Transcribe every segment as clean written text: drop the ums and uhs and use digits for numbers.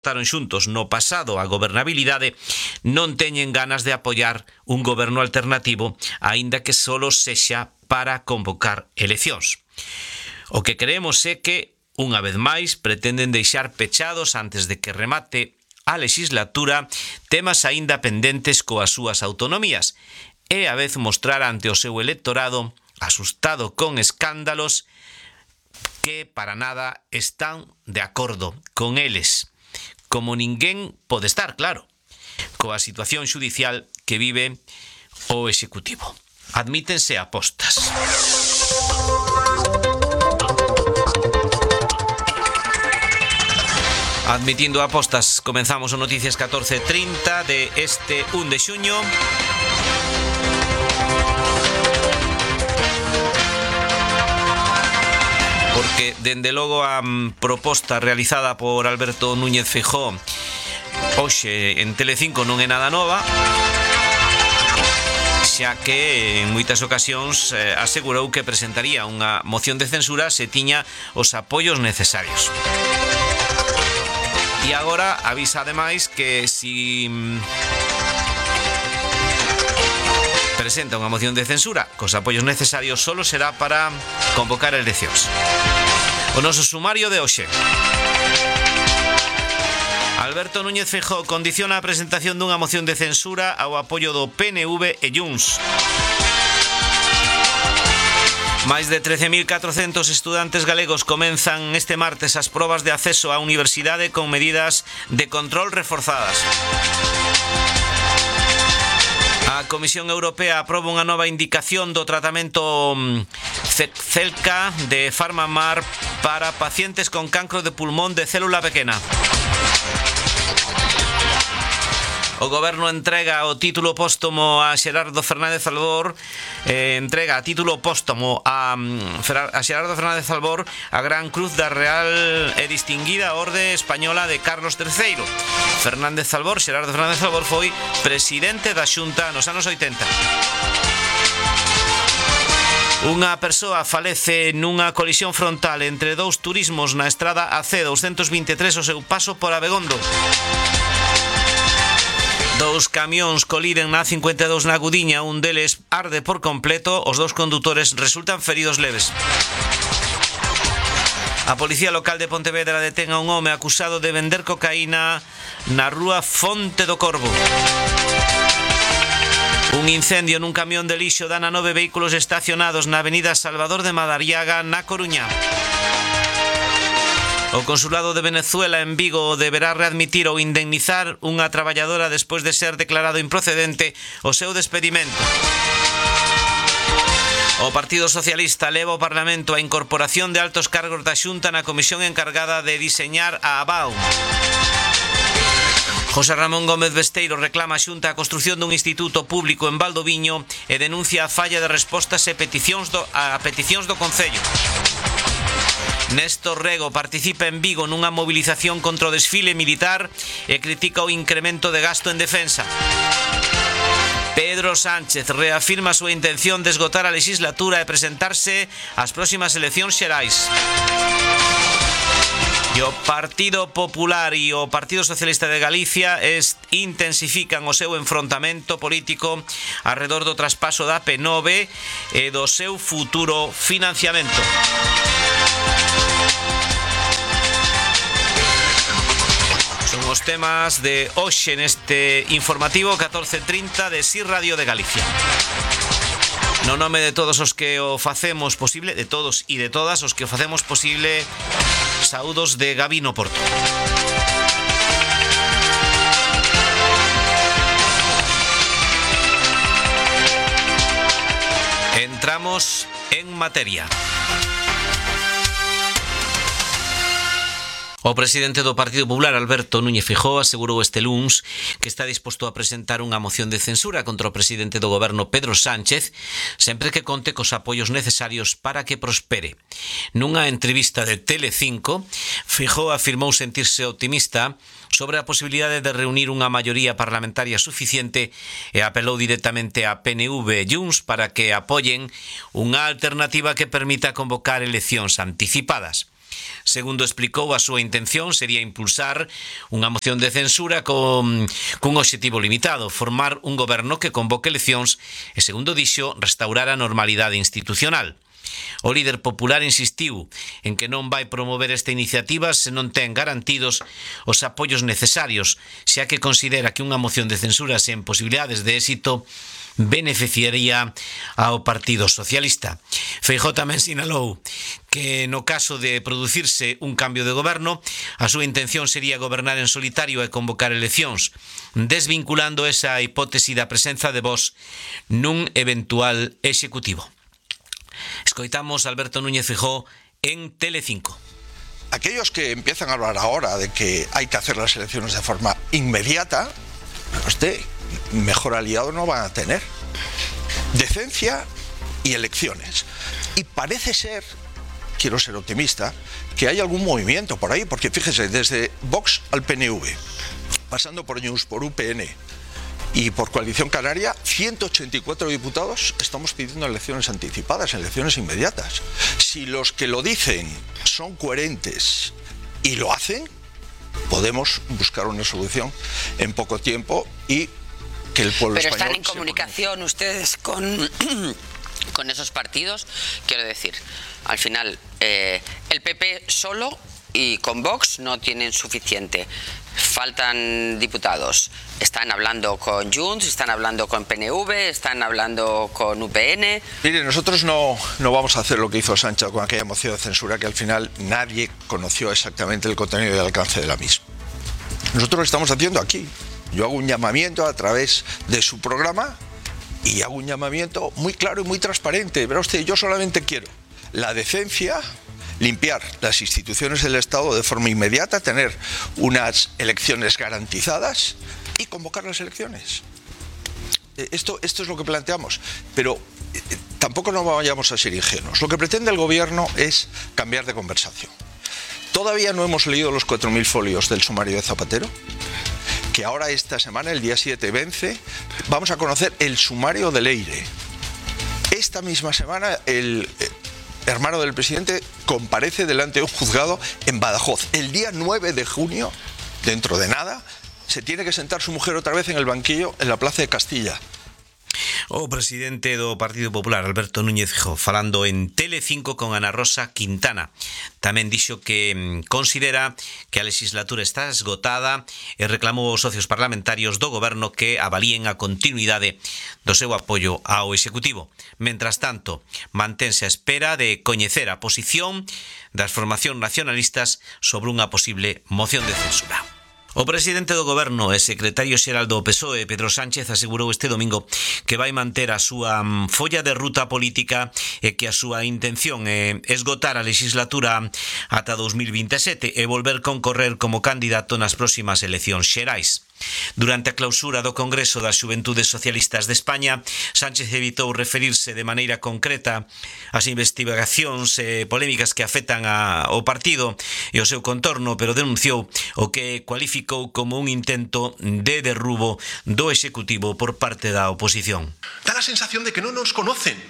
estaron xuntos no pasado a gobernabilidade, non teñen ganas de apoiar un goberno alternativo, aínda que solo sexa para convocar eleccións. O que creemos é que, unha vez máis, pretenden deixar pechados antes de que remate a legislatura temas aínda pendentes coas súas autonomías e a vez mostrar ante o seu electorado, asustado con escándalos, que para nada están de acordo con eles. Como ninguén pode estar, claro, coa situación xudicial que vive o Executivo. Admítense apostas. Admitindo apostas, comenzamos o Noticias 14:30 de este 1 de xuño. Porque, dende logo, a proposta realizada por Alberto Núñez Feijóo hoxe en Telecinco non é nada nova, xa que en moitas ocasións asegurou que presentaría unha moción de censura se tiña os apoios necesarios. E agora avisa ademais que si presenta unha moción de censura cos apoios necesarios solo será para convocar eleccións. O noso sumario de hoxe. Alberto Núñez Feijóo condiciona a presentación dunha moción de censura ao apoio do PNV e Junts. Máis de 13.400 estudantes galegos comenzan este martes as probas de acceso á universidade con medidas de control reforzadas. A Comisión Europea aproba unha nova indicación do tratamento Zepzelca de Farmamar para pacientes con cancro de pulmón de célula pequena. O Goberno entrega o título póstumo a Xerardo Fernández Albor, entrega a título póstumo a Xerardo Fernández Albor a Gran Cruz da Real e Distinguida Orde Española de Carlos III. Xerardo Fernández Albor foi presidente da Xunta nos anos 80. Unha persoa falece nunha colisión frontal entre dous turismos na estrada AC223 ao seu paso por Abegondo. Dous camións coliden na 52 na Gudiña, un deles arde por completo, os dous condutores resultan feridos leves. A Policía Local de Pontevedra detén a un home acusado de vender cocaína na rúa Fonte do Corvo. Un incendio nun camión de lixo dana 9 vehículos estacionados na avenida Salvador de Madariaga, na Coruña. O Consulado de Venezuela en Vigo deberá readmitir ou indemnizar unha traballadora despois de ser declarado improcedente o seu despedimento. O Partido Socialista leva ao Parlamento a incorporación de altos cargos da Xunta na comisión encargada de diseñar a ABAU. José Ramón Gómez Besteiro reclama a Xunta a construción dun instituto público en Valdoviño e denuncia a falla de respostas a peticións do Concello. Néstor Rego participa en Vigo nunha movilización contra o desfile militar e critica o incremento de gasto en defensa. Pedro Sánchez reafirma a súa intención de esgotar a legislatura e presentarse ás próximas eleccións xerais. E o Partido Popular e o Partido Socialista de Galicia intensifican o seu enfrontamento político arredor do traspaso da P9 e do seu futuro financiamento. Son os temas de hoxe neste informativo 14:30 de SIR Radio de Galicia. No nome de todos os que o facemos posible, de todos e de todas os que o facemos posible, saúdos de Gabino Porto. Entramos en materia. O presidente do Partido Popular, Alberto Núñez Feijóo, asegurou este luns que está disposto a presentar unha moción de censura contra o presidente do goberno, Pedro Sánchez, sempre que conte cos apoios necesarios para que prospere. Nunha entrevista de Telecinco, Feijóo afirmou sentirse optimista sobre a posibilidade de reunir unha maioría parlamentaria suficiente e apelou directamente a PNV e Junts para que apoien unha alternativa que permita convocar eleccións anticipadas. Segundo explicou, a súa intención sería impulsar unha moción de censura cun obxectivo limitado, formar un goberno que convoque eleccións e, segundo dixo, restaurar a normalidade institucional. O líder popular insistiu en que non vai promover esta iniciativa se non ten garantidos os apoios necesarios, xa que considera que unha moción de censura sen posibilidades de éxito beneficiaría ao Partido Socialista. Feijóo tamén sinalou que no caso de producirse un cambio de goberno, a súa intención sería gobernar en solitario e convocar eleccións, desvinculando esa hipótese da presenza de Vox nun eventual executivo. Escoitamos a Alberto Núñez Feijóo en Telecinco. Aquellos que empiezan a hablar ahora de que hay que hacer las elecciones de forma inmediata, mejor aliado no van a tener. Decencia y elecciones. Y parece ser, quiero ser optimista, que hay algún movimiento por ahí, porque fíjese, desde Vox al PNV, pasando por News, por UPN y por Coalición Canaria, 184 diputados estamos pidiendo elecciones anticipadas, elecciones inmediatas. Si los que lo dicen son coherentes y lo hacen, podemos buscar una solución en poco tiempo y que el pueblo español... Pero están en comunicación ustedes con esos partidos, quiero decir, al final el PP solo y con Vox no tienen suficiente. Faltan diputados. Están hablando con Junts, están hablando con PNV, están hablando con UPN. Mire, nosotros no vamos a hacer lo que hizo Sánchez con aquella moción de censura, que al final nadie conoció exactamente el contenido y el alcance de la misma. Nosotros lo estamos haciendo aquí. Yo hago un llamamiento a través de su programa y hago un llamamiento muy claro y muy transparente. Verá usted, yo solamente quiero la decencia, limpiar las instituciones del Estado de forma inmediata, tener unas elecciones garantizadas y convocar las elecciones. Esto es lo que planteamos, pero tampoco no vayamos a ser ingenuos. Lo que pretende el gobierno es cambiar de conversación. Todavía no hemos leído los 4.000 folios del sumario de Zapatero, que ahora esta semana, el día 7, vence. Vamos a conocer el sumario de Leire. Esta misma semana el hermano del presidente comparece delante de un juzgado en Badajoz. El día 9 de junio, dentro de nada, se tiene que sentar su mujer otra vez en el banquillo en la Plaza de Castilla. O presidente do Partido Popular, Alberto Núñez Feijóo, falando en Telecinco con Ana Rosa Quintana. Tamén dixo que considera que a legislatura está esgotada e reclamou aos socios parlamentarios do goberno que avalíen a continuidade do seu apoio ao Executivo. Mentras tanto, mantense a espera de coñecer a posición das formacións nacionalistas sobre unha posible moción de censura. O presidente do goberno e secretario xeral do PSOE, Pedro Sánchez, asegurou este domingo que vai manter a súa folla de ruta política e que a súa intención é esgotar a legislatura ata 2027 e volver concorrer como candidato nas próximas eleccións xerais. Durante a clausura do Congreso das Xuventudes Socialistas de España, Sánchez evitou referirse de maneira concreta ás investigacións e polémicas que afectan ao partido e o seu contorno, pero denunciou o que cualificou como un intento de derrubo do Executivo por parte da oposición. Da la sensación de que no nos conocen.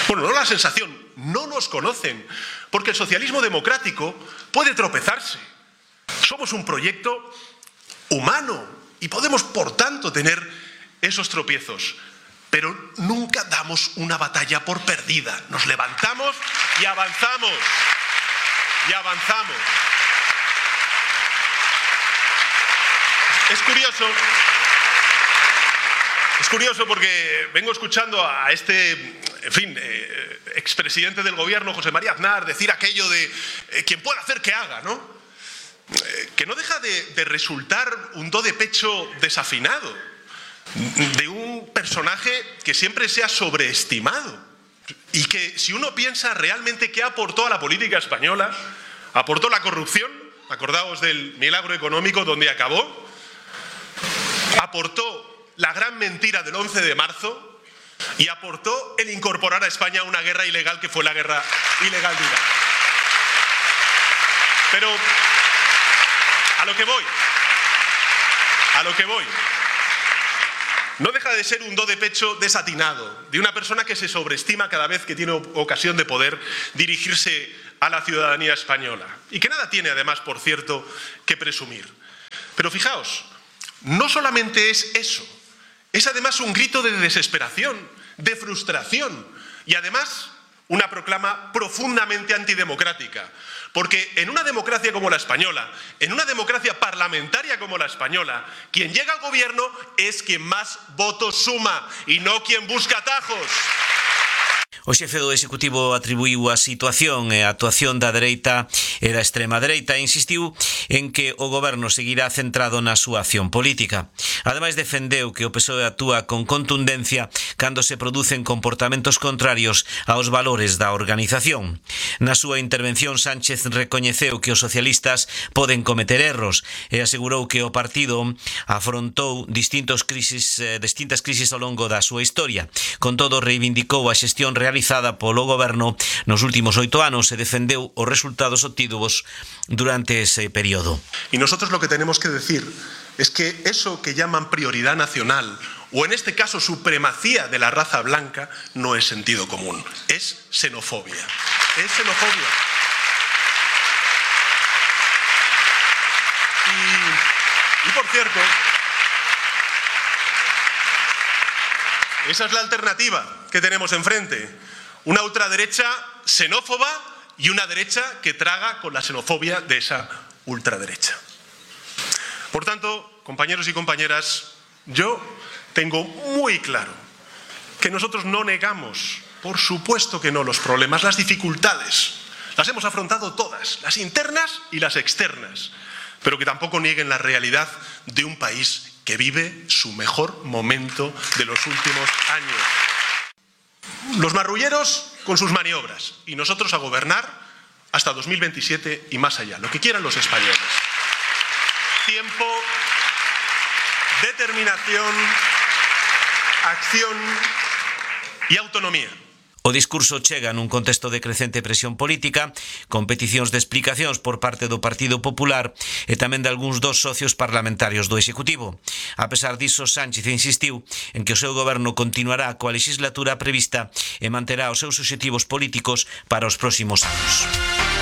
Bueno, no la sensación, no nos conocen, porque el socialismo democrático puede tropezarse. Somos un proyecto humano y podemos, por tanto, tener esos tropiezos, pero nunca damos una batalla por perdida. Nos levantamos y avanzamos. Y avanzamos. Es curioso porque vengo escuchando a este, expresidente del gobierno, José María Aznar, decir aquello de quien pueda hacer que haga, ¿no? Que no deja de resultar un do de pecho desafinado de un personaje que siempre se ha sobreestimado y que, si uno piensa realmente qué aportó a la política española, aportó la corrupción, acordaos del milagro económico donde acabó, aportó la gran mentira del 11 de marzo y aportó el incorporar a España a una guerra ilegal que fue la guerra ilegal de Irak. Pero a lo que voy, no deja de ser un do de pecho desatinado, de una persona que se sobreestima cada vez que tiene ocasión de poder dirigirse a la ciudadanía española y que nada tiene, además, por cierto, que presumir. Pero fijaos, no solamente es eso, es además un grito de desesperación, de frustración y además una proclama profundamente antidemocrática. Porque en una democracia como la española, en una democracia parlamentaria como la española, quien llega al gobierno es quien más votos suma y no quien busca atajos. O xefe do Executivo atribuiu a situación e a actuación da dereita e da extrema dereita e insistiu en que o goberno seguirá centrado na súa acción política. Ademais, defendeu que o PSOE actúa con contundencia cando se producen comportamentos contrarios aos valores da organización. Na súa intervención, Sánchez recoñeceu que os socialistas poden cometer erros e asegurou que o partido afrontou distintas crisis ao longo da súa historia. Con todo, reivindicou a xestión realizada polo goberno nos últimos 8 anos e defendeu os resultados obtidos durante ese periodo. Y nosotros lo que tenemos que decir es que eso que llaman prioridad nacional, o en este caso supremacía de la raza blanca, no es sentido común, es xenofobia. Es xenofobia. Y por cierto, esa es la alternativa que tenemos enfrente. Una ultraderecha xenófoba y una derecha que traga con la xenofobia de esa ultraderecha. Por tanto, compañeros y compañeras, yo tengo muy claro que nosotros no negamos, por supuesto que no, los problemas, las dificultades. Las hemos afrontado todas, las internas y las externas, pero que tampoco nieguen la realidad de un país que vive su mejor momento de los últimos años. Los marrulleros con sus maniobras y nosotros a gobernar hasta 2027 y más allá, lo que quieran los españoles. Tiempo, determinación, acción y autonomía. O discurso chega nun contexto de crecente presión política, con peticións de explicacións por parte do Partido Popular e tamén de algúns dos socios parlamentarios do Executivo. A pesar diso, Sánchez insistiu en que o seu goberno continuará coa legislatura prevista e manterá os seus obxectivos políticos para os próximos anos.